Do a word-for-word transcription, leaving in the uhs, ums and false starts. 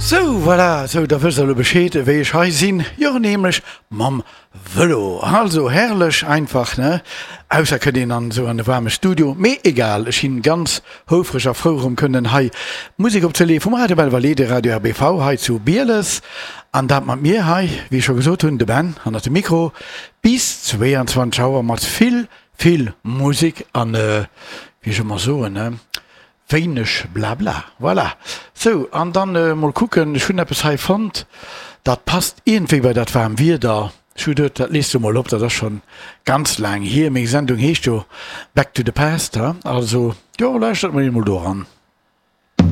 Sou, voilà, sou, da wësst der elo Bescheed, wéi ech hei sinn. Jo, nämlech mam Vëlo. Also herrlech einfach, ne? Ausser kënnt een an esou an e waarme Studio. Mee egal, ech sinn ganz houfreg a frou, erëm kënnen hei Musek opzeleeën vum Radio Belval, de Radio R B V hei zu Bieles. An dat mat mir hei, wéi ech scho gesot hunn, de Ben hannert dem Mikro, bis zweeanzwanzeg Auer mat vill, vill Musek an, wéi ech ëmmer soen, ne? Wéineg Blabla. Voilà. Sou, an dann mol kucken, ech hunn eppes hei fonnt, dat passt iergendwéi bei dat waarm Wieder. Ech hu geduet, dat lees du mol op, dat ass schonn ganz laang hier. Meng Sendung heescht jo Back to the Past, ha? Also, jo, lauschtert mol eemol do eran.